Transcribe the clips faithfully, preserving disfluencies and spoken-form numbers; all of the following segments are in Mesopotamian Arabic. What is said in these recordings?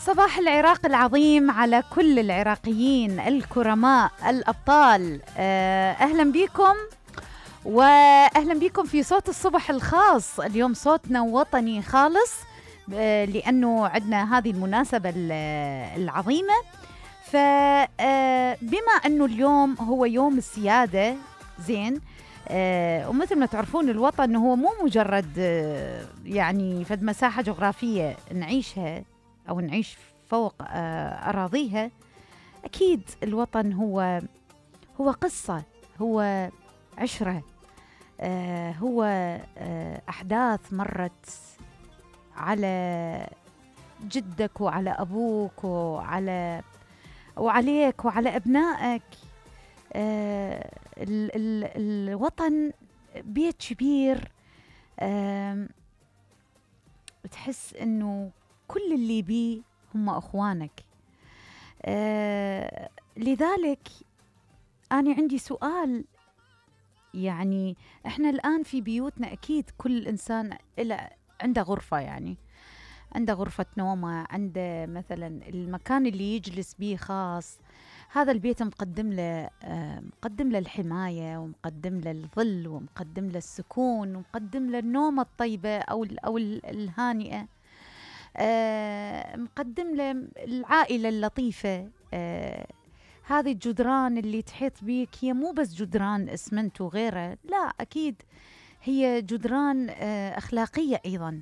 صباح العراق العظيم على كل العراقيين الكرماء الأبطال. أهلا بكم وأهلا بكم في صوت الصبح الخاص. اليوم صوتنا وطني خالص لأنه عندنا هذه المناسبة العظيمة. فبما أنه اليوم هو يوم السيادة زين، آه ومثل ما تعرفون الوطن هو مو مجرد آه يعني فد مساحة جغرافية نعيشها أو نعيش فوق آه أراضيها. أكيد الوطن هو هو قصة، هو عشرة، آه هو آه أحداث مرت على جدك وعلى أبوك وعلى وعليك وعلى أبنائك. آه ال ال الوطن بيت كبير، آه بتحس إنه كل اللي بيه هم أخوانك. آه لذلك أنا عندي سؤال، يعني إحنا الآن في بيوتنا أكيد كل إنسان إله عنده غرفة، يعني عنده غرفة نومه، عنده مثلا المكان اللي يجلس بيه خاص. هذا البيت مقدم له مقدم له الحماية، ومقدم له الظل، ومقدم له السكون، ومقدم له النومة الطيبة أو أو الهانئة، مقدم له العائلة اللطيفة. هذه الجدران اللي تحيط بيك هي مو بس جدران اسمنت وغيره، لا، أكيد هي جدران أخلاقية أيضا،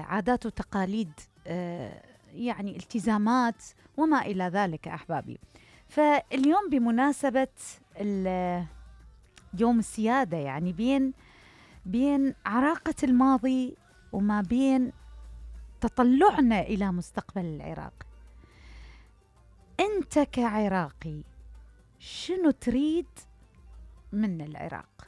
عادات وتقاليد، يعني التزامات وما إلى ذلك أحبابي. فاليوم بمناسبة يوم السيادة، يعني بين بين عراقة الماضي وما بين تطلعنا إلى مستقبل العراق، أنت كعراقي شنو تريد من العراق؟